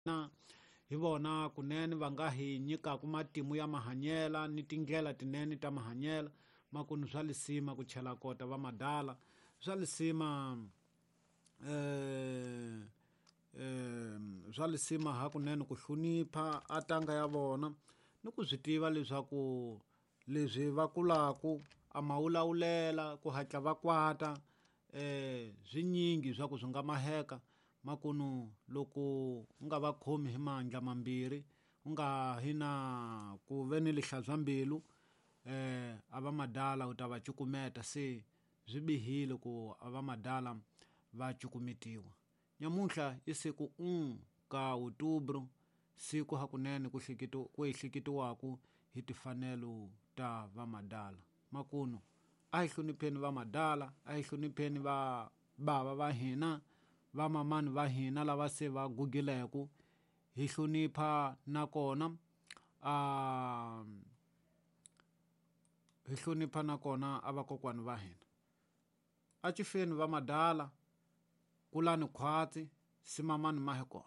Hina hi vona kunene va nga hi nyikaku matimu ya mahanyela ni tindlela tinene ta mahanyela. Makunu swa lisima ku chela kota va madala, swa lisima swa lisima hakunene ku hlonipha a tanga ya vona ni ku swi tiva leswaku leswi va kulaku a ma wulawulela ku hatla va kwata swinyingi swa ku swi nga maheka. Makunu loko u nga va khomi hi mandla mambirhi u nga hi na ku ve ni lihlazwa mbilu a va madala u ta va cukumeta, se swi bihile ku a va madala va cukumetiwa. Nyamuntlha i siku 1 ka Outubro, siku hakunene ku ku ehleketiwaku hi timfanelo ta vamadala. Makunu a hi hlonipheni vamadala, a hi hlonipheni va bava va hina, va mamani va hina lava se va gugileke, hi hlonipha nakona a hi hlonipha nakona a vakokwani va hina. A cifeni va madala, kulani khwatsi, simamani ma hi kona.